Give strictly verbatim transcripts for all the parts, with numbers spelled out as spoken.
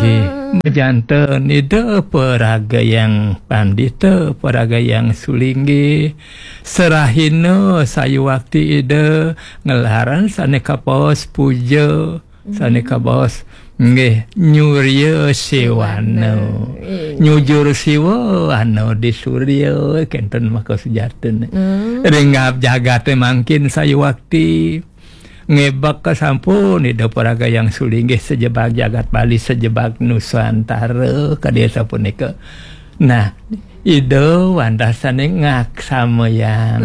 Nggih, janten Ida Paragayang Pandita, Paragayang Sulinggih, serahina sayuwakti Ida ngelaran sane kabaos puja, sane kabaos nggih nyurya sewana. Nyujur siwa ana di surya, kenten maka sujatine. Ring ngab jagate mangkin sayuwakti ngebek sampun Ida Paragayang Sulinggih sajebag jagat Bali, sajebag Nusantara, kadi sapunika. Nah, Ida wantah sane ngaksamayang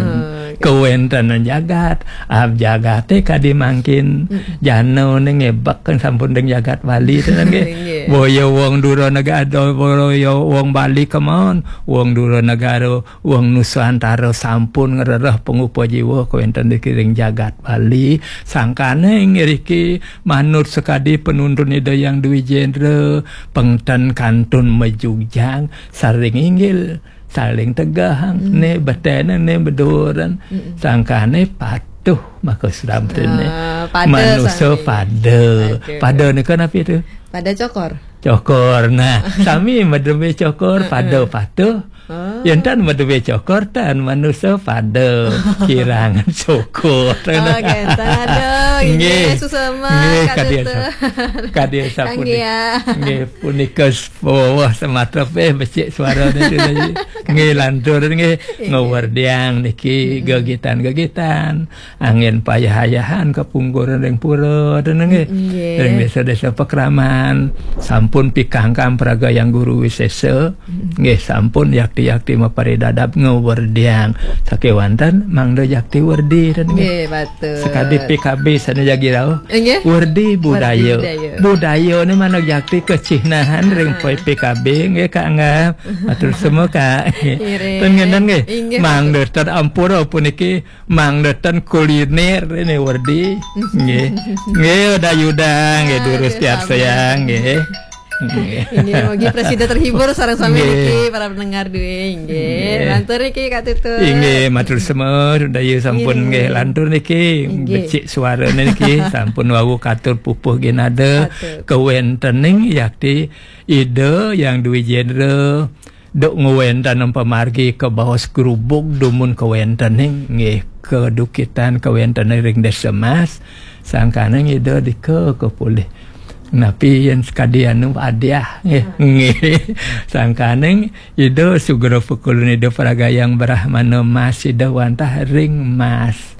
kawentenan jagat. Ab jagate kadi mangkin janane ngebek sampun ring jagat Bali tenan nggih. Nggih. Boya wong dura negara, boya wong Bali kemawon, wong dura negara, wong Nusantara sampun ngrereh pangupa jiwa kawenten niki ring jagat Bali. Sangkane ngriki manut sakadi panuntun Ida Hyang Dwi Jendra, pengten kantun majugjang, saling inggil, saling tegehang, ne betene, ne beduren. Sangkane patuh maka sramprene. Ah, pada manusa sami. Pada. Pada. Pada nika napi tu? Pada cokor. Cokor. Nah, sami madebe cokor, pada patuh. Oh. Yen tan madebe cokor, tan manusa pada kirang cokor. Oh, kenten. Aduh, nggih, nggih. Susama, nggih, Kak kadi Tutur. Sa-, kadi sapunika. Kang Gia. Nggih, punika s-, wah, sematra peh becik suarane tu tadi. Nggih, lantur nggih, nggih, ngewerdiang niki gegitan-gegitan. Angin payah-ayahan kapungkuran ring pura, ten nggih. Nggih. Ring desa-desa pakraman, sampun pikangkang Paragayang Guru Wisesa, nggih, sampun yakti-yakti maparidadab ngewerdiang. Sakewanten mangda jakti werdi, ten nggih. Nggih, betul. Sakadi P K B sane jagi rauh. Nggih. Werdi budaya. Werdi budaya. Budaya ni mana jakti kecihnahan ring P K B, nggih, Kak Anggap. Matur semua, Kak. Nggih. Ten ngenten nggih. Nggih, mangda betul. Ten ampura puniki mangda ten kuliner ini werdi. Nggih. Nggih, Uda Yuda, nggih, durus tiap sayang, nggih. Nggih. Nggih, mugi prasida terhibur sareng sami niki, para pendengar duwe, nggih. Nggih. Lantur niki, Kak Tutur. Inggih, matur semua, Uda Yu sampun nggih lantur niki. Inggih. Becik suarane niki, sampun wau katur pupuh ginada. Katur. Kawentening yakti Ida Hyang Dwi Jendra, duk ngwentenang pamargi kabaos grubug dumun kawentening, nggih, kadukitan kawentening ring Desa Mas, sangkaning Ida dika kapulih. Napi yen sakadi anu hadiah, nggih. Nggih. Sangkaning Ida sugra pakulun Ida Paragayang Brahmana Mas Ida wantah ring Mas.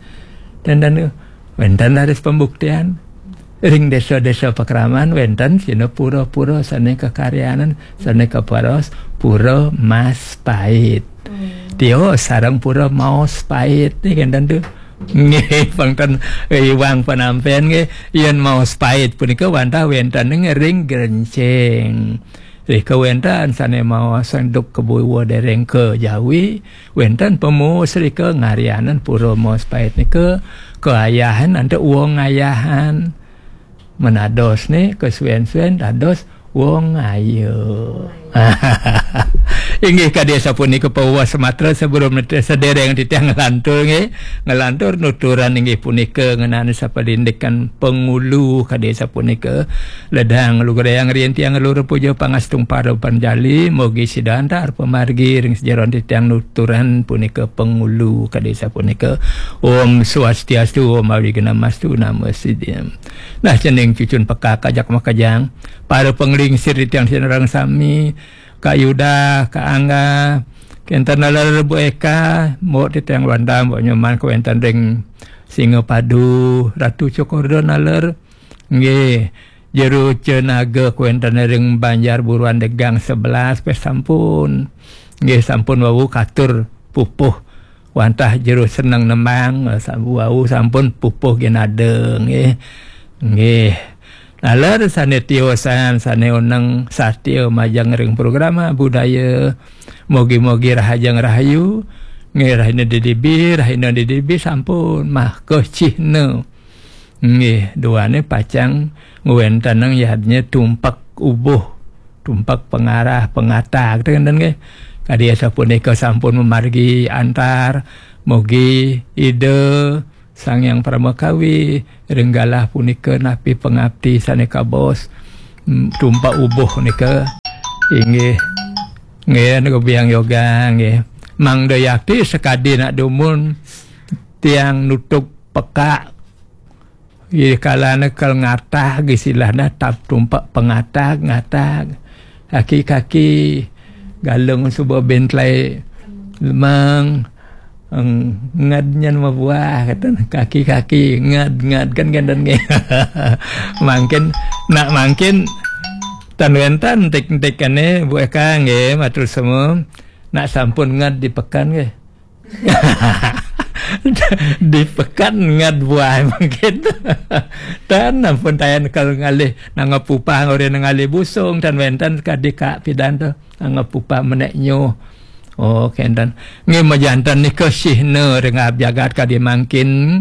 Dan, dan, wenten raris pembuktian. Ring desa-desa pakraman wenten sina pura-pura sane kakaryanan, sane kaparos, pura Mas Pait. Hmm. Tio sareng pura Maos Pait niki enten tu. Nggih, pangten iwang panampen nggih, yen Maos Pait punika wantah wenten ring Grenceng. Rika wenten sane maos sanduk kebuwa dereng ka Jawi, wenten pemuus rika ngaryanan pura Maos Pait nika kaayahan antuk wong ayahan. Menados ne kasuwen-suwen dados wong ayu. Inggih kadi sapunika pawuh sematra sebelum nete-, sedereng titiang ngelantur nggih. Ngelantur nuturan inggih punika ngenani sapalindikan pangulu kadi sapunika. Ledang lugrayang riin tiang lur puja pangastung para panjali, mugi sida antar pamargi ring sajeroning titiang nuturan punika pangulu kadi sapunika. Om Swastiastu, Om Awighnamastu, Namo Siddham. Nah, cening cucun pekak ajak makejang. Para panglingsir titiang sinareng sami, Kak Yuda, Kak Angga, kenten taler Bu Eka, Mbok titiang Wanda, Mbok Nyoman, kawenten ring Singapadu, Ratu Cokorda taler, nggih, Jero Cenaga kawenten ring Banjar Buruan Degang sebelas, peh sampun. Nggih, sampun wau katur pupuh wantah jero seneng nembang, sa-, wau sampun pupuh ginada, nggih. Nggih. Taler sane tiosan, sane oneng satia majeng ring programa budaya. Mugi-mugi rahajeng rahayu. Nggih, rahina didibi, rahina didibi sampun mah kecihna. Nggih, duane pacang ngwentenang yadnya tumpek ubuh, tumpek pengarah, pengatag, ten nggih. Kadi sapunika sampun mamargi antar, mugi Ida Sang Hyang Paramakawi ring galah punika napi pangapti sane kabaos. mm, tumpak ubuh nika. Inggih. Nggih, nika biang yoga, nggih. Mangda yakti sakadi nak dumun tiang nutuk pekak. Ih, kalana kal ngatag, istilahna tap tumpak pangatag, ngatag. Kaki-kaki galung suba bentlai lemang, eng, ngad nyan mabuah, kata kaki-kaki, ngad, ngad, kan, kan, dan, mangkin, nak mangkin, tan wénten entik-entik kéné, Bu Eka, nggih, matur semua. Nak sampun ngad di pekan, nggih. Di pekan ngad buah mangkin. Tan ampun tayan kal ngalih nangep upah ngoré ngalih busung, tan wénten kadi Kak Pidan to. Nangep upah menek nyuh. Oh, kénten. Nggih, majanten nika sihna ring jagat kadi mangkin.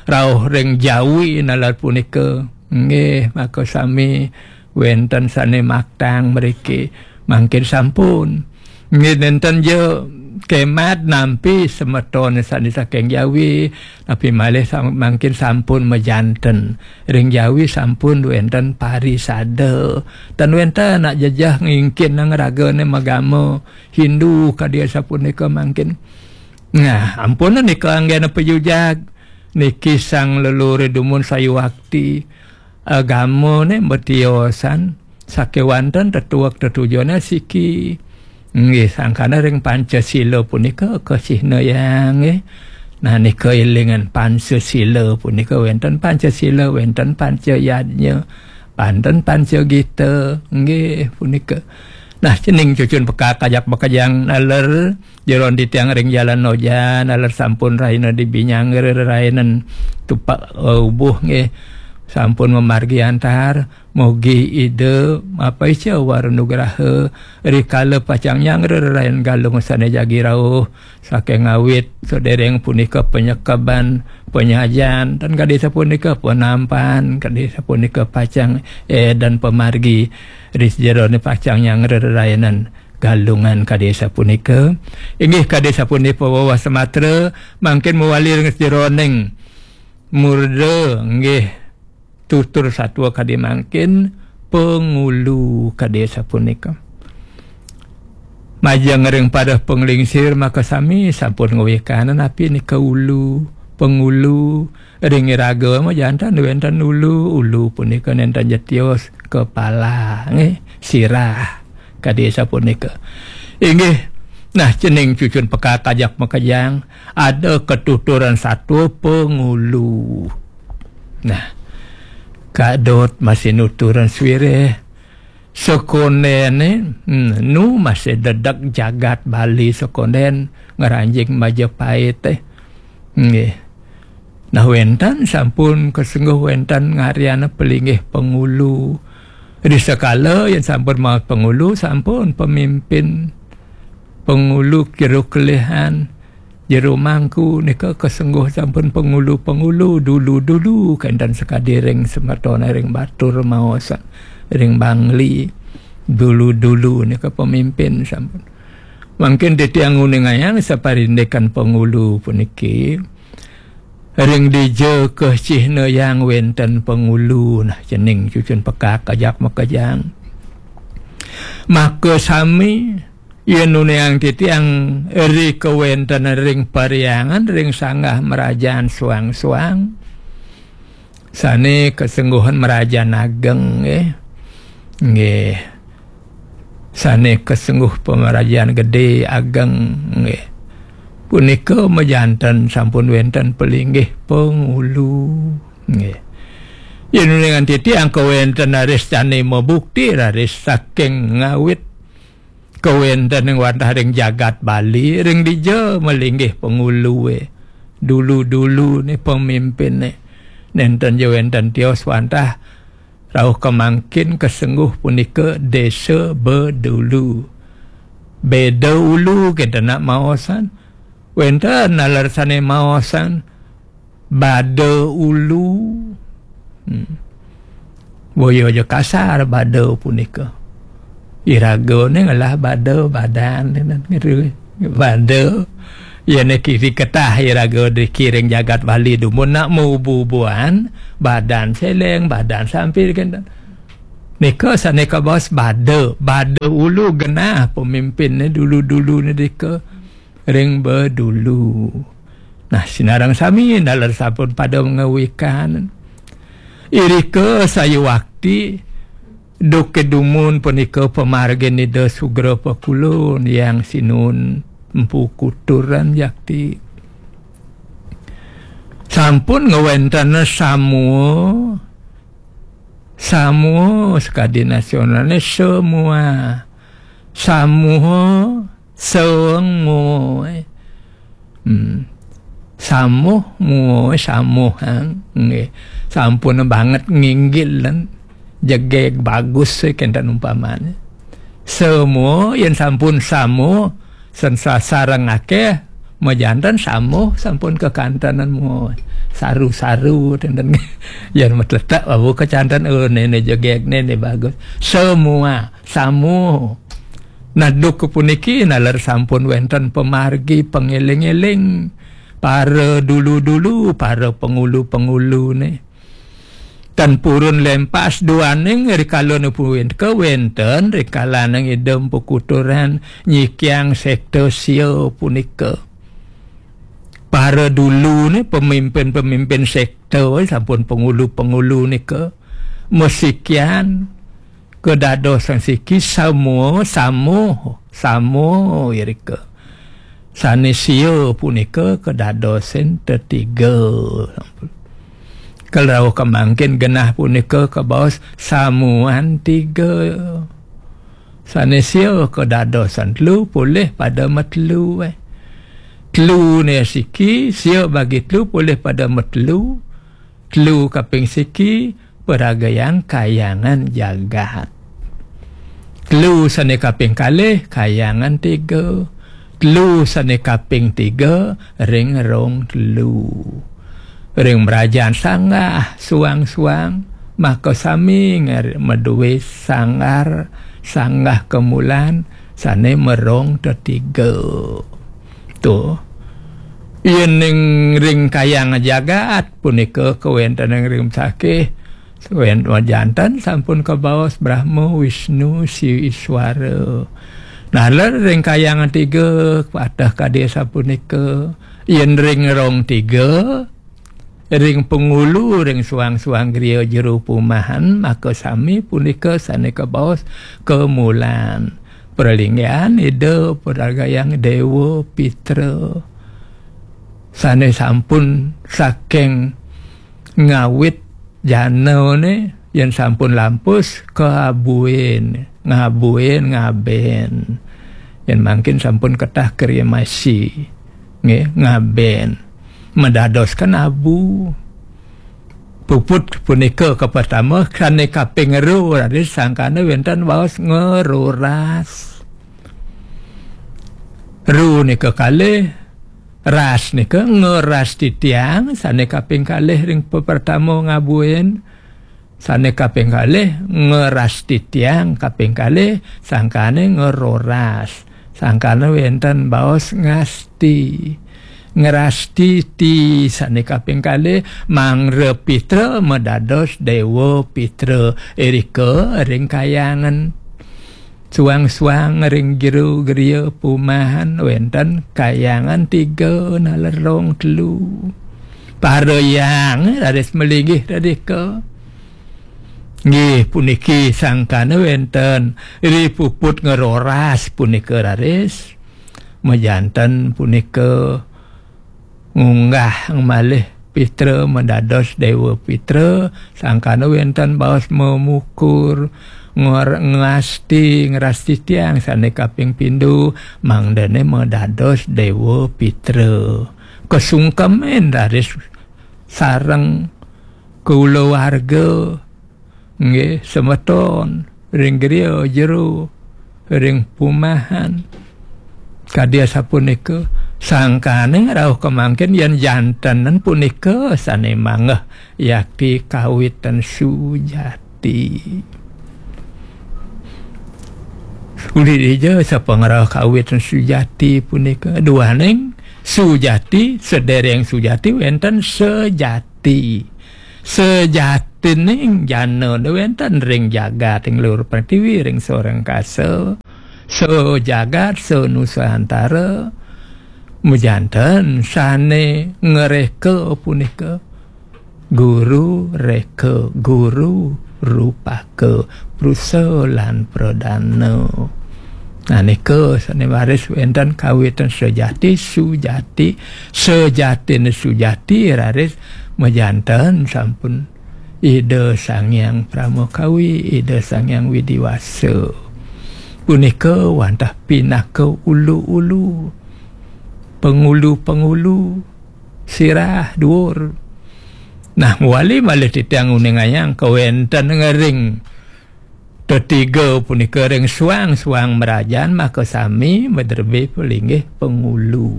Rauh ring Jawi nalar punika. Nggih, maka sami wénten sané maktang mriki. Mangkin sampun. Nggih, nénten ja kemat nampi semeton sané saking Jawi, tapi malih sam-, mangkin sampun majanten. Ring Jawi sampun wénten parisada. Tan wénten nak jejeh ngingkin nang ragané magama Hindu kadi sapunika mangkin. Nah, ampun nika anggéna pajujag. Niki sang leluhur dumun sayuwakti. Agamané matiosan sakéwanten tetuek tetujoné siki. Nggih, sangkana ring Pancasila punika kasihnayang, nggih. Nah, nika élingan Pancasila punika wénten Pancasila, wénten Pancayadnya, wénten Pancagita, nggih, punika. Nah, cening cucun pekak ajak makejang naler jeron titiang ring Jalan Noja, naler sampun rahina dibinyang rererayanan tupak, eh, ubuh nggih. Sampun mamargi antar, mugi Ida mapaica wara nugraha rikala pacang nyang rererayan galung sané jagi rauh, saking awit sadéréng punika panyekeban, panyajan, tan kadi sapunika panampan, kadi sapunika pacang, eh, dan pamargi ri sajeroné pacang nyang rererayanan galungan kadi sapunika. Inggih kadi sapunika pawewa samatra, mangkin mawali ring sajeroning murda, nggih, tutur satua kadi mangkin pangulu kadi sapunika. Majeng ring pada panglingsir maka sami sampun ngwékanan napi nika ulu, pangulu, ring iraga majanten wénten ulu, ulu punika nénten ja tios kepala, nggih, sirah, kadi sapunika. Inggih, nah, cening cucun pekak ajak makejang, ada katuturan satua pangulu. Nah, kadot masih nuturan swirih, sakondén, eh, hmm, nu masih dedek jagat Bali sakondén ngranjing Majapahit, eh. Nggih. Nah, wénten sampun kasengguh wénten ngaryan palinggih pangulu. Ri sekala yén sampun maos pangulu, sampun pemimpin pangulu jero kelihan, jero mangku nika kasengguh sampun pangulu-pangulu dulu-dulu kénten sakadi ring semeton ring batur maos ring Bangli dulu-dulu nika pemimpin sampun. Mangkin titiang nguningayang saparindikan pangulu puniki ring dija kasihnayang wénten pangulu nah cening cucun pekak ajak makejang. Maka sami yén nuniang titiang ri kawéntenan ring parhyangan ring sanggah marajan suang-suang. Sané kasengguhan marajan ageng, nggih. Nggih. Sané kasengguh pamarajan gedé ageng, nggih. Punika majanten sampun wénten palinggih pangulu, nggih. Yén uningan titiang kawéntenan raris sané mabukti raris saking ngawit kawéntening wantah ring jagat Bali, ring dija malinggih pangulué. Dulu-dulu né pemimpinné. Nénten ja wénten tios wantah rauh kamangkin kasengguh punika Désa Bedulu. Béda ulu kita nak maosan. Wénten nalar sané maosan Bada ulu. Hmm. Boya ja kasar bada punika. Iragané ngelah bada badan, bada. Yén kiri ketah iraga dikiring jagat Bali dumun nak maubu-ubuan, badan seleng, badan sampir kénten. Nika sane kabaos bada, bada ulu genah pemimpinne dulu-dulu ne dika ring bedulu. Nah, sinareng sami naler sampun pada ngawikan. Irika sayuwakti duke dumun punika pamargin Ida Sugra Pakulun, Hyang Sinun Empu Kuturan jakti. Sampun ngawenten samua, samua sakadi nasionalne semua. Samua, semua. Hmm. Samuh, mua, samuh, ha. Nggih. Sampun banget nginggil lan jegeg bagus, eh, kenten umpamane. Semua, yen sampun samuh, sen sa-, sareng akeh, majanten samuh, sampun kekantenan mua. Saru-saru, tenten. Yen matletak, babu kecanten, oh, nene jegeg, nene bagus. Semua, samuh. Nah, duk puniki naler sampun wenten pamargi pangeling-eling. Para dulu-dulu, para pangulu-pangulune. Tan purun lempas duaning rikala punika wenten rikalaning Ida Empu Kuturan nyikiang sekta sia punika. Para dulune pemimpin-pemimpin sekta sampun pangulu-pangulu nika masikian kedadosan siki samuh, samuh, samuh irika. Sane sia punika kedadosin tetiga. Kalau rauh kemangkin genah punika kabaos samuan tiga. Sane sia kedadosan telu polih pada matelu, eh. Telu ne siki, sia bagi telu polih pada matelu. Telu kaping siki, paragayang kayangan jagat. Telu sane kaping kalih, kayangan tiga. Telu sane kaping tiga, ring rong telu. Ring mrajan sanggah suang-suang, maka sami ngar-, madue sanggar, sanggah kemulan, sane merong tetiga. Tuh. Yen ning ring kayang jagat punika kawenten ring sakih, wen-, wajanten sampun kabaos Brahma, Wisnu, Siwa Iswara. Naler ring kayang tiga, pateh kadi sapunika. Yen ring rong tiga, ring pangulu, ring suang-suang griya jero pumahan, maka sami punika sane kabaos kamulan. Pralinggihan Ida paragayang Dewa Pitra. Sane sampun saking ngawit janane, yen sampun lampus, kaabuin, ngabuin, ngaben. Yen mangkin sampun ketah kremasi, nggih, ngaben. Madadosken abu. Puput punika kapertama, sane kaping ro raris sangkana wenten baos ngeroras. Ro nika kalih, ras nika ngeras titiang, sane kaping kalih ring pepertama ngabuin, sane kaping kalih ngeras titiang, kaping kalih sangkane ngeroras. Sangkana wenten baos ngasti. Ngrastiti sane kaping kalih, mangda Pitra madados Dewa Pitra. Irika ring kayangan. Suang-suang ring jero griya pumahan wenten kayangan tiga naler rong telu. Para hyang raris malinggih radika. Nggih, puniki sangkana wenten ri puput ngeroras punika raris. Majanten punika ngunggah malih Pitra madados Dewa Pitra, sangkana wenten baos memukur, ngor-, ngasti, ngrasti tiang sane kaping pindho, mangdane madados Dewa Pitra. Kasungkemin raris sareng kulawarga, nggih, semeton, ring griya jero, ring pumahan. Kadi asapunika, sangkaning rauh kemangkin yen jantenen punika sane manggeh yakti kawitan sujati. Uli dija sapangrauh kawitan sujati punika, duaning sujati, sedereng sujati wenten sejati. Sejati Tining jana da wenten ring jagat ing luhur pertiwi, ring saureng kasa, sajagat, sanusantara, majanten sane ngreka punika guru reka, guru rupaka, prusa lan pradana. Nah, nika sane raris wenten kawitan sejati, sujati, sejatine sujati raris majanten sampun Ida Sang Hyang Pramakawi, Ida Sang Hyang Widiwasa. Punika wantah pinaka ulu-ulu, pengulu-pengulu, sirah duur. Nah, mawali malih titiang nguningayang kawenten ring tetiga punika ring suang-suang mrajan makasami madrebé palinggih pengulu.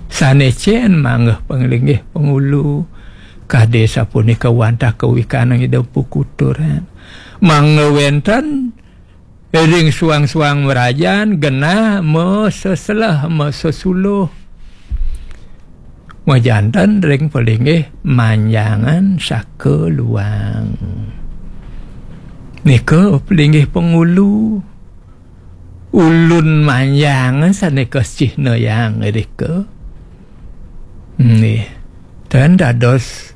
Sane cen manggeh palinggih pengulu, kadi sapunika wantah kawikanang Ida Pukuturan. Mangda wenten ring suang-suang mrajan genah maseselah, masesuluh. Majanten ring palinggih manjangan saka luang. Nika palinggih pengulu. Ulun manjangan sane kasihnayang irika. Nggih. Tan dados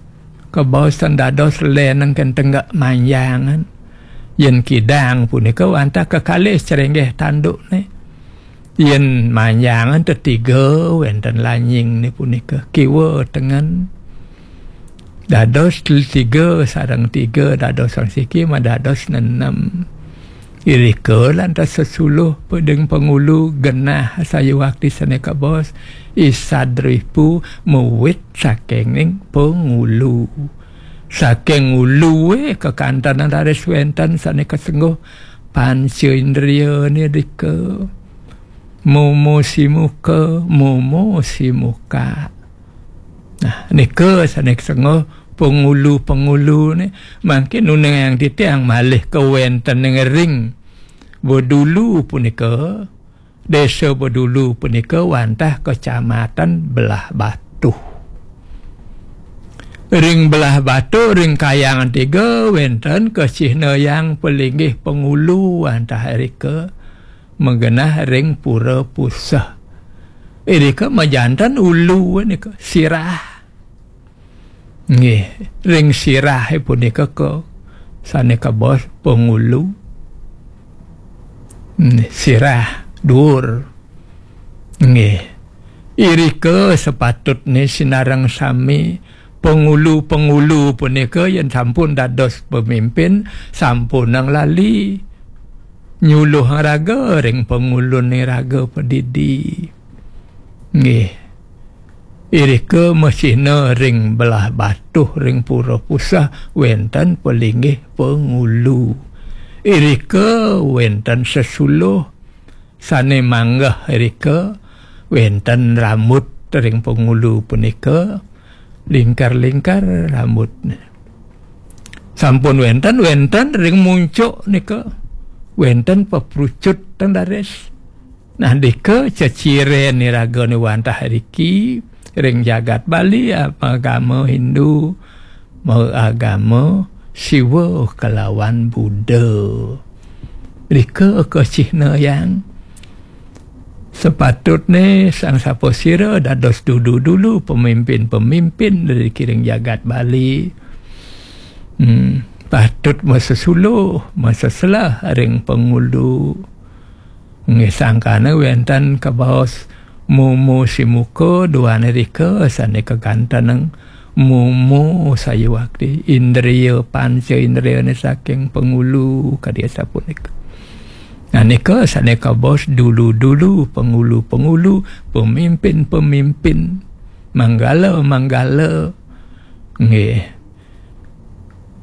kabaos, tan dados leneng ken tenggak manjangan. Yen kidang punika wantah kekalih crenggeh tandukne. Yen manjangan tetiga wenten lanyingne punika kiwa tengen. Dados tiga sareng tiga dados sareng siki madados nenem. Irika lantas sesuluh peding pengulu genah sayuwakti sane kabaos Isadripu mawit saking ning pengulu. Saking ulue kakantenan raris wenten sane kasengguh panca indriane dika. Momo simuka, momo simuka. Nah, nika sane kasengguh pengulu-pengulune, mangkin nuningayang titiang malih kawenten ring Bedulu punika, Desa Bedulu punika wantah Kecamatan Belah Batuh. Ring Belah Batuh, ring Kayangan Tiga, wenten kasihnayang palinggih pengulu wantah irika magenah ring Pura Puseh. Irika majanten ulu nika, sirah. Nggih, ring sirah punika ka sane kabaos pengulu. Nggih, sirah duur. Nggih. Irika sepatutne sinareng sami pengulu-pengulu punika yen sampun dados pemimpin, sampunang lali nyuluhang raga ring pengulune raga padidi. Nggih. Irika masihna ring Belah Batuh ring Pura Puseh wenten palinggih pengulu. Irika wenten sesuluh sane manggeh irika, wenten rambut ring pengulu punika, lingkar-lingkar rambutne. Sampun wenten, wenten ring muncuk nika, wenten peprucut teng daris. Nah, dika ceciren iragane wantah riki ring jagat Bali, agama Hindu, maagama Siwa kelawan Buddha. Rika kasihnayang. Sepatutne sang sapasira dados dulu-dulu pemimpin-pemimpin dari kiring jagat Bali. Hmm, patut masesuluh, maseselah ring pengulu. Nggih, sangkana wenten kabaos mumu simuka duane rika sane kakantenang mumu sayuwakti indriya panca indriyane saking pengulu kadi asapunika. Nah, nika sane kabaos dulu-dulu, pengulu-pengulu, pemimpin-pemimpin, manggala-manggala. Nggih.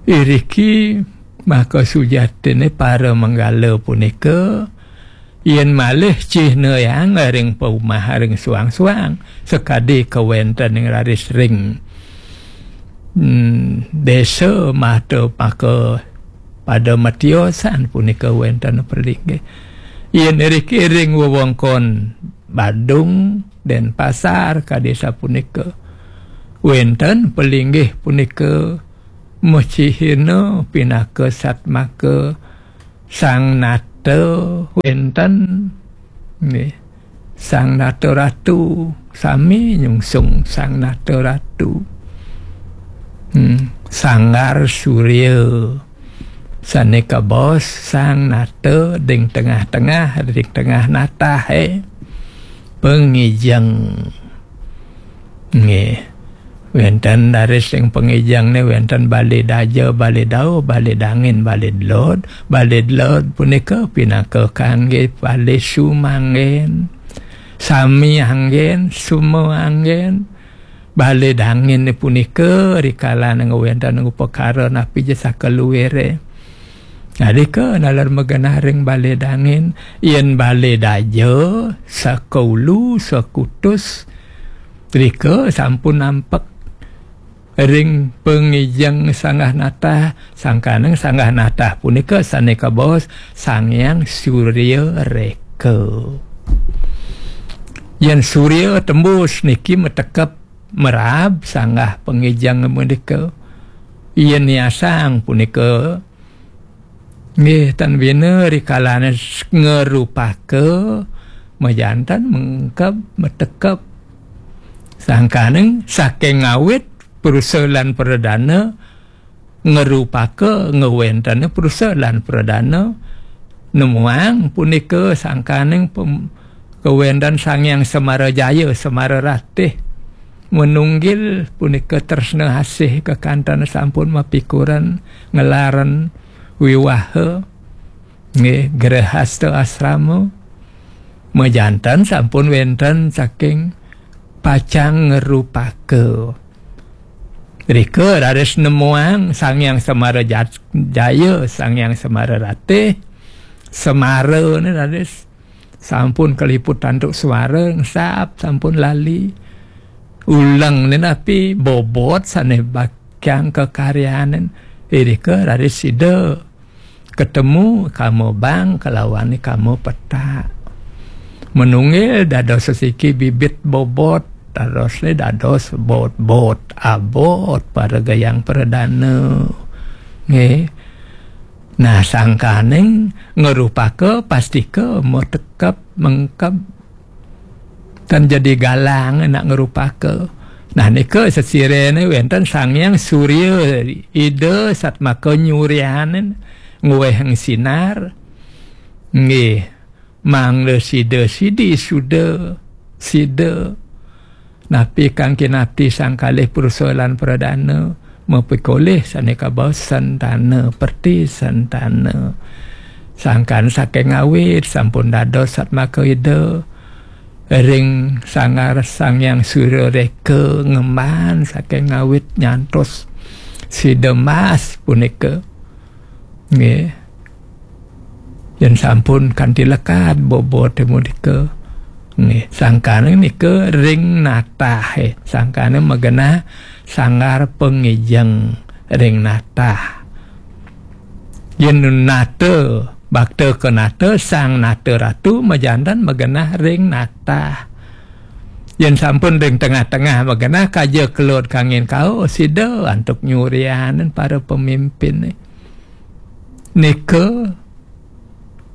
Iriki maka sujatine para manggala punika yen malih cihnayang ring paumah ring suang-suang, sakadi kawenten ing raris ring, hmm, desa mata maka pada matiosan punika wenten pelinggih. Yen iriki ring wewengkon Badung, Denpasar, kadi sapunika. Wenten pelinggih punika Mecihina pinaka satmaka Sang Nata wénten, nggih. Sang Nata Ratu, sami nyungsung Sang Nata Ratu. Hmm, Sanggar Surya. Sané kabaos Sang Nata ring tengah-tengah, ring tengah natahé. Pangijeng. Nggih. Wénten raris ring pangijengné wénten balé daja, balé dauh, balé dangin, balé delod. Balé delod punika pinaka kanggé balé sumanggén. Sami anggén, suma anggén. Balé dangin punika rikalané ngwénten upakara napi ja sakaluiré. Nalika nalar magenah ring balé dangin, yén balé daja, sakaulu, sakutus, rika sampun nampek ring pangijeng sanggah natah, sangkaning sanggah natah punika sané kabaos Sang Hyang Surya Réka. Yén surya tembus niki matekep meraab sanggah pangijeng punika. Yén niasang punika, nggih, tan bina rikalané s-, ngrupaka, majanten mengkeb, matekep. Sangkaning saking ngawit Prusa lan Pradana ngrupaka ngwéntenang Prusa lan Pradana, nemuang punika sangkaning pem-, kawéntenan Sang Hyang Semara Jaya, Semara Ratih. Manunggil punika tresna asih kekanten sampun mapikuren ngelarang wiwaha, nggih, grehasta asrama. Majanten sampun wénten saking pacang ngrupaka. Rika raris nemuang Sang Hyang Semara Jat-, Jaya, Sang Hyang Semara Ratih, Semara né raris sampun kaliput antuk suara, ngesap sampun lali. Uleng né napi bobot sané bakyang kakaryanin. Irika raris sida katemu kama bang kalawan kama petak. Manunggil dados sesiki bibit bobot, dados né dados bot-bot abot para gayang pradana. Nggih. Nah, sangkaning ngrupaka pastika matekep mengkeb. Tan jadi galang nak ngrupaka. Nah, nika sesiréné wénten Sang Hyang Surya, Ida satmaka nyuryanin ngwéhang sinar. Nggih, mangda sida sidi suda, sida. Napi kang kinapti sang kalih Prusa lan Pradana, mapikolih sané kabaos sentana, perti sentana. Sangkan saking awit sampun dados satmaka Ida ring sanggar Sang Hyang Surya Réka ngemban saking awit nyantos sida mas punika. Nggih. Yén sampun kanti lekad boboté punika. Nggih, sangkané nika ring natahé. Sangkané magenah sanggar pangijeng ring natah. Yén nata, bakta ka nata, Sang Nata Ratu majanten magenah ring natah. Yén sampun ring tengah-tengah magenah, kaja kelod kangin kauh, sida antuk nyuryanin para pemimpin. Nika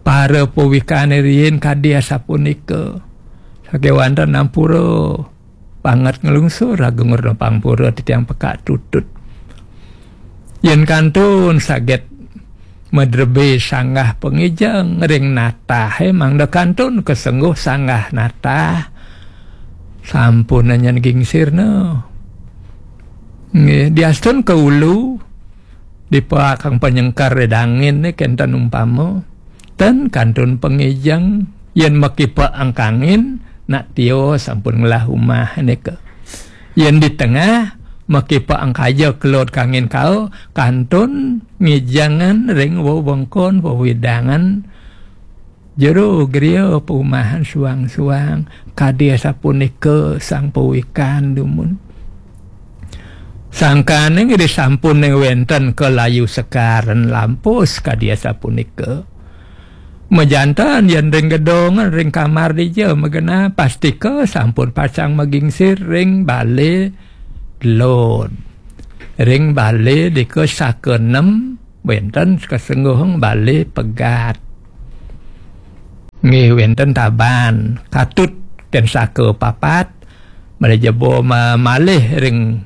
para pawikané riin kadi asapunika. Sakéwanten ampura banget nglungsur Agung Rena Pangpura titiang pekak tutut. Yén kantun saget madrebé sanggah pangijeng ring natahé mangda kantun kasengguh sanggah natah. Sampun nyen gingsirna. Nggih, diastun ka ulu, dipaakang panyengkar ring dangin né kénten umpama. Ten kantun pangijeng, yén makipa angkangin, nak tios sampun ngelah umah nika. Yén di tengah, makipa angkaja kelod kangin kauh, kantun ngijengan ring wewengkon wewidangan jero griya paumahan suang-suang, kadi asapunika sang pawikan dumun. Sangkaning ri sampun wénten kalayu sekaren lampus kadi asapunika. Majanten yén ring gedong, ring kamar dija magenah, pastika sampun pacang magingsir ring balé lod. Ring bale dika saka nem, wenten kasengguhang bale pegat. Nggih, wenten taban, katut ten saka papat, malih jebo ma-, malih ring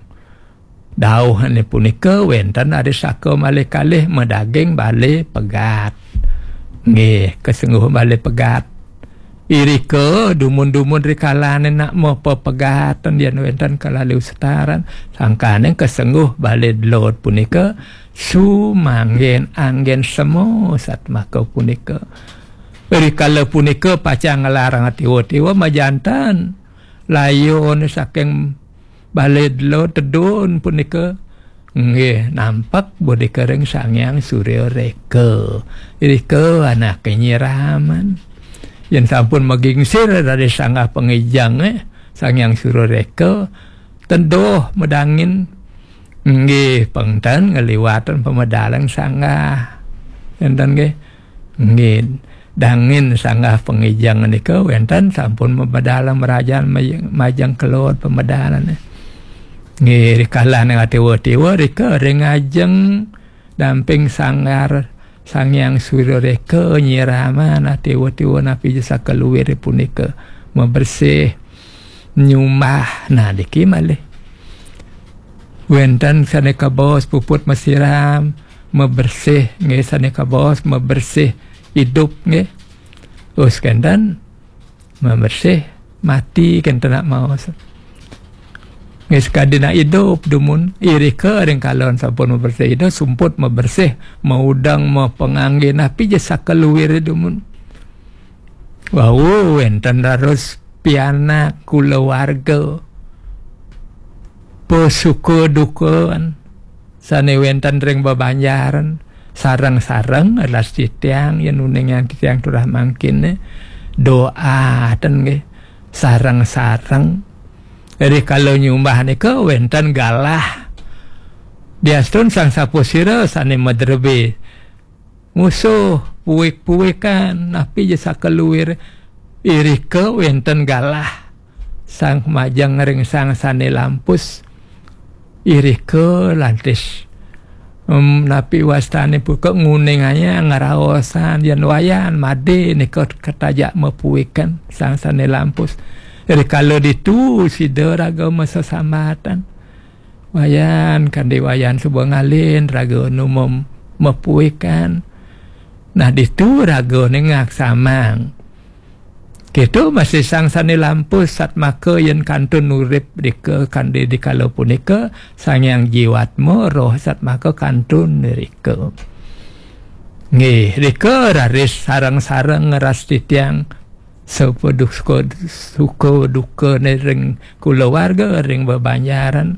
dauhane punika, wenten ada saka malih kalih madaging bale pegat. Nggih, kasengguh bale pegat. Irika dumun-dumun rikalane nak mapepegatan yen wenten kalalu setaran, sangkaning kasengguh bale delod punika sumanggen anggen semo satmaka punika. Rikala punika pacang nglarang tiwa-tiwa majanten layone saking bale delod tedun punika nggih nampak bodika ring Sang Hyang Surya Reka. Irika anake nyiraman. Yen sampun magingsir dari sanggah pangijang, eh, Sang Hyang Surya Reka, teduh medangin. Nggih, pengten ngliwatan pamedalan sanggah. Enten nggih. Nggih, dangin sanggah pangijang nika wenten sampun pamedalan merajan maj-, majeng kelod pamedalan. Nggih, rikala ning tiwa-tiwa rika ring ajeng damping sanggar Sang Hyang Surya Reka nyiraman tiwa-tiwa napi jasa kaluir punika mabersih nyumbah. Nah, niki malih. Wenten sane kabaos puput masiram, mabersih nggih, sane kabaos mabersih idup nggih. Us kenten mabersih mati kenten nak maos. Nggih, sakadi nak idup dumun, irika ring kalon sampun mabersih idup, sumput mabersih, maudeng, mapangangge, napi ja sakaluir dumun. Wau wenten raris pianak kulawarga. Pasuka duka sane wenten ring bebanjaran, sareng-sareng las titiang yen uning yang titiang turah mangkin doa ten nggih. Sareng-sareng rikala nyumbah nika wenten galah. Diastun sang sapasira sane madrebe musuh, puik-puikan, napi ja sakaluir, irika wenten galah. Sang majeng ring sang sane lampus, irika lantis. Em, napi wastane punika nguningayang ngraosan yen wayan made nika katajak mapuikan sang sane lampus. Rikala ditu sida raga masesambatan. Wayan, kande wayan suba ngalin, raga nu mem-, mapuikan. Nah, ditu ragane ngaksamang. Keto masih sang sane lampus satmaka yen kantun urip rika kande dikala punika, Sang Hyang Jiwatma roh satmaka kantun rika. Nggih, rika raris sareng-sareng ngeras titiang sapa duka, suka dukane ring kulawarga, ring bebanjaran,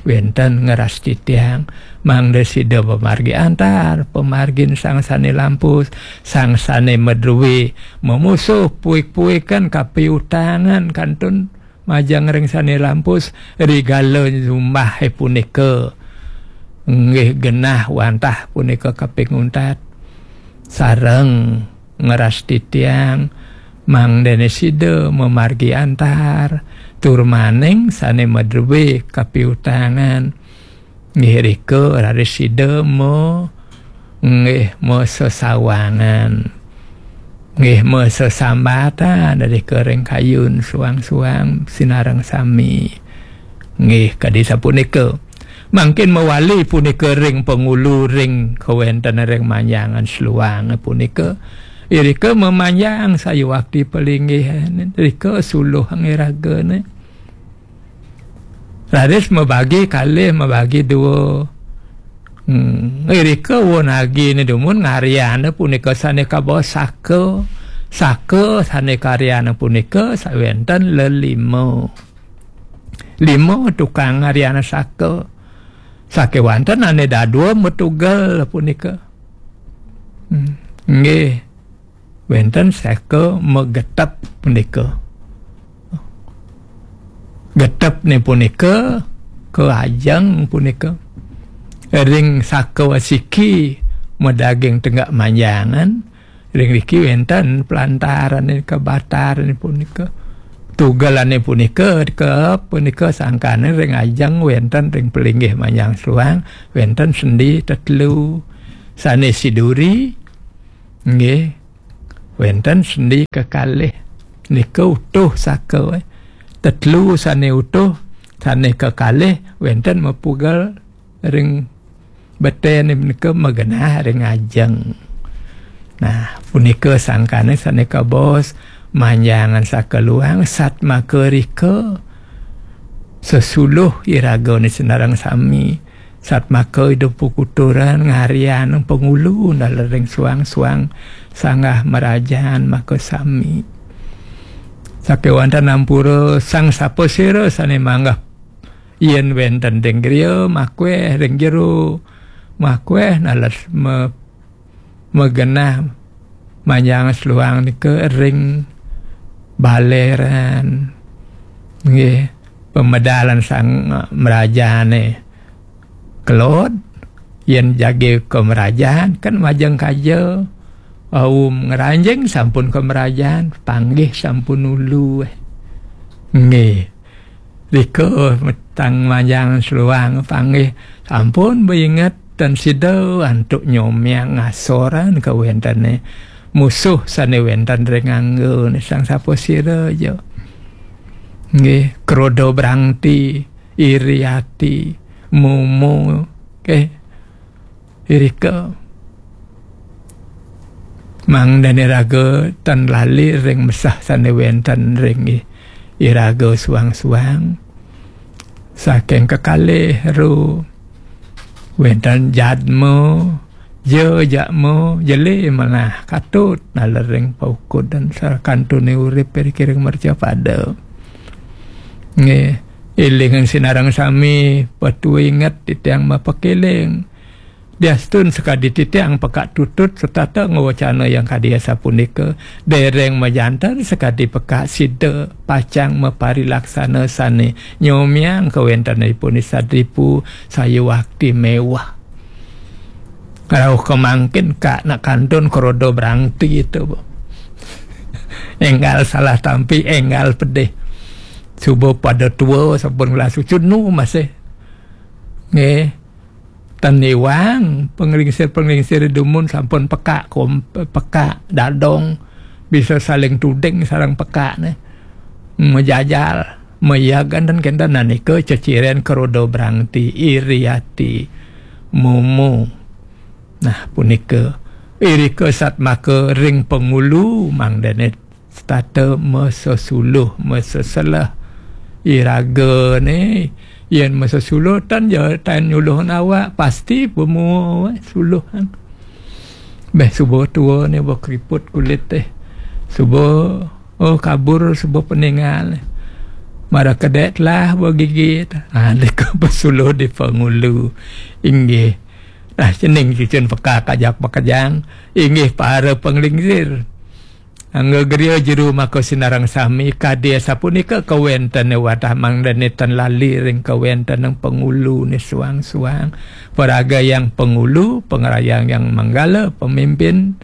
wenten ngeras titiang, mangda sida pamargi antar, pamargin sang sane lampus, sang sane madruwe, mamusuh puik-puikan kapiutangan kantun majeng ring sane lampus, rigala nyumbah punika. Nggih genah wantah punika kaping untat. Sareng ngeras titiang, mangdene sida mamargi antar, tur maning sane madruwe kapiutangan. Nggih rika raris sida ma-, nggih masesawangan. Nggih masesambatan rika ring kayun suang-suang sinareng sami. Nggih kadi sapunika. Mangkin mawali punika ring pangulu ring kawenten ring manjangan seluang punika. Irika mamanjang sayuwakti palinggih rika suluh ngragane. Raris mabagi kalih, mabagi dua. Hmm, irika wonagine dumun ngaryana punika sane kabaos saka. Saka sane karyana punika sawenten lelima. Lima tukang ngaryana saka. Sakewanten ane dadua matugel punika. Hmm, nggih. Wenten saka magetep punika. Getepne punika kaajeng punika ring saka wasiki madaging tenggak manjangan, ring riki wenten pelantarane kabatarane punika. Tugelane punika, ke punika sangkane ring ajeng wenten ring pelinggih Manjang Sluang, wenten sendi tetelu. Sane siduri, nggih, wenten sendi kekalih. Nika utuh saka, eh. Tetelu sane utuh, sane kekalih, wenten mapugel ring betene menika magenah ring ajeng. Nah, punika sangkane sane kabaos Manjangan Saka Luang, satmaka rika sesuluh iragane sinareng sami. Satmaka Ida Pukuturan ngarian pangulu nalering suang-suang sanggah merajan maka sami. Sakewanten ampura sang sapasira sane manggah yen wenten ring griya, makweh ring jero, makweh naled me-, magenah Manjang Sluang nika ring baleran. Nggih, pamedalan sang mrajane kelod, yen jagi ka mrajan, kan majeng kaja, aum ngranjing sampun ka mrajan, panggih sampun ulu, eh. Nggih. Rika metang Manjang Sluang panggih sampun bainget tan sida antuk nyomiang ngasoran kawentene musuh sane wenten ring angga ne sang sapasira ja. Nggih, kroda brangti, iri ati, mumu, nggih. Irika mangdane raga tan lali ring mesah sane wenten ring i-, iraga suang-suang. Saking kekalih ru wenten jadma, ja jadma, jele manah katut nalering paukud dan sakantune urip ring mercapada. Nggih, elingan sinareng sami, patuinget titiang mapakeling. Diastun sakadi titiang pekak tutut setata ngwacana yang kadi asapunika, dereng majanten sakadi pekak sida pacang maparilaksana sane nyomiang kawentenipun i sadripu sayuwakti mewah. Rauh kemangkin kak nak kantun krodo brangti itu, Bu. Enggal salah tampi, enggal pedih. Suba pada tua, sampun ngelas ucun nu masih. Nggih. Tan iwang, penglingsir-penglingsir dumun sampun pekak kom-, pekak dadong, bisa saling tuding sareng pekak ne. Majajal, mayagan dan kenten, nah nika ceciren krodo brangti, iri ati, mumu. Nah, punika irika satmaka ring pangulu mangdane setata masesuluh, maseselah. Iragane yen masesuluh tan ja tan nyuluhang awak, pasti pemua suluhan. Beh, suba tua ne, ba keriput kulit teh. Suba, oh, kabur, suba peninggal. Mara kedek telah ba gigit. Ha, nika pasuluh di pangulu. Inggih. Nah, cening cucun pekak ajak makejang. Inggih para penglingsir. Angga griya jero maka sinareng sami, kadi asapunika kawentene wadah mangdane tan lali ring kawentenang pangulu ne suang-suang. Paraga yang pangulu, pangrayang yang manggala, pemimpin,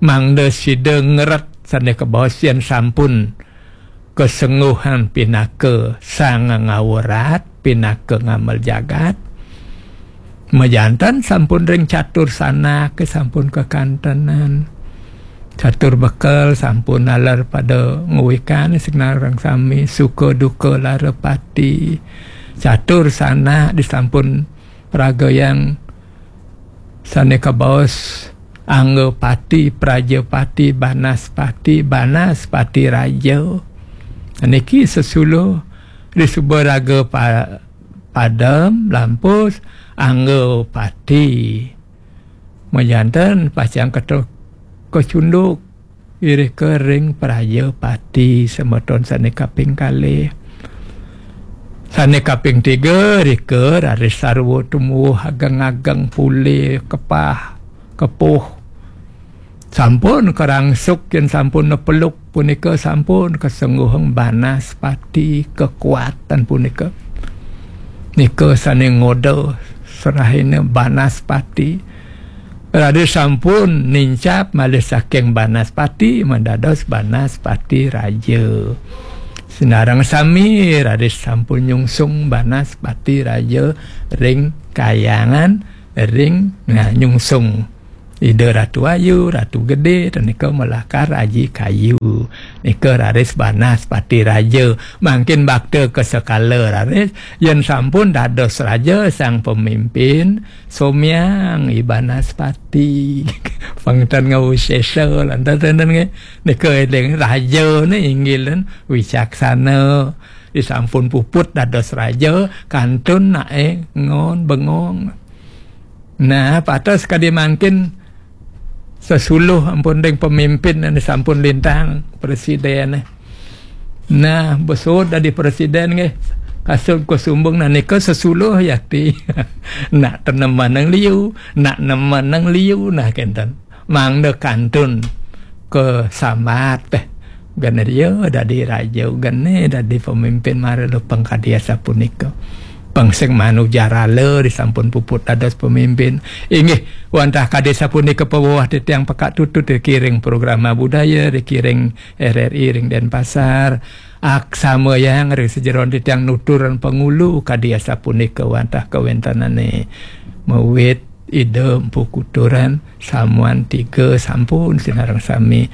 mangda sida ngeret sane kabaos yen sampun kasengguhan pinaka sang ngawrat, pinaka ngamel jagat. Majantan sampun ring catur sanak, sampun kakantenan. Catur bekel sampun naler pada nguwikan sinareng sami, suka duka lara pati. Catur sanak disampun pragayang sane kabaos Anggapati, Prajapati, Banaspati, Banaspati Raja. Niki sesuluh di suba raga pa-, padem, lampus, Anggapati. Majanten pacang keto-, kecunduk. Irika ring Prajapati semeton sane kaping kalih. Sane kaping tiga, rika raris sarwa tumuwuh ageng-ageng pule kepah, kepuh. Sampun karangsuk yen sampun nepeluk punika sampun kasengguhang Banaspati kekuatan punika. Nika sane ngoda serahina Banaspati. Raris sampun nincap malih saking Banaspati, mendados Banaspati Raja. Sinareng sami raris sampun nyungsung Banaspati Raja ring kahyangan, ring, nah, nyungsung Ida Ratu Ayu, Ratu Gedé, ten nika malakar aji kayu. Nika raris Banaspati Raja. Mangkin bakta ka sekala raris, yen sampun dados raja sang pemimpin, somyang I Banaspati. Pang ten ngawsesa, lantas ten nggih. Nika eling raja ne inggil ten wicaksana. Disampun puput dados raja, kantun nae ngon bengong. Nah, patos kadi mangkin sesuluh ampun ring pemimpin ane sampun lintang presiden. Nah, besud dadi presiden nggih. Kasud Kusumbung, nah, nika sesuluh yakti. Nak tenemanang liu, nak nemanang liu, nah, kenten. Mangda kantun kasambat teh. Gane dia dadi raja, gane dadi pemimpin, mara lupeng kadi asapunika. Pang sing manujarala disampun puput dados pemimpin. Inggih, wantah kadi sapunika paweweh titiang pekak tutut dikiring programa budaya, dikiring R R I ring Denpasar. Aksamayang ring sajeroning titiang nuturan pangulu kadi asapunika wantah kawentenane. Mawit Ida Empu Kuturan, Samuan Tiga sampun sinareng sami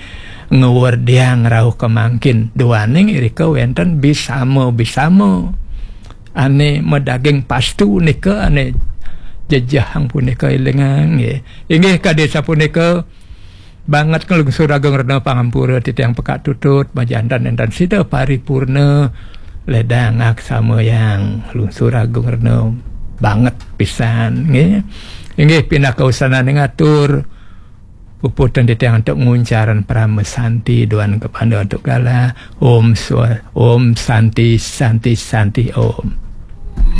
ngwerdiang rauh kemangkin. Duaning irika wenten bisama-bisama. Ane madaging pastu nika ane jejehang punika elingang nggih. Inggih kadi sapunika banget nglungsur agung rena pangampura titiang pekak tutut majanten enten sida paripurna ledang aksamayang lungsur agung rena banget pisan nggih. Inggih pinaka usanane ngatur puputan titiang antuk nguncaran parama santi duan kepada antuk galah. Om swa, Om Santi, Santi, Santi, Om.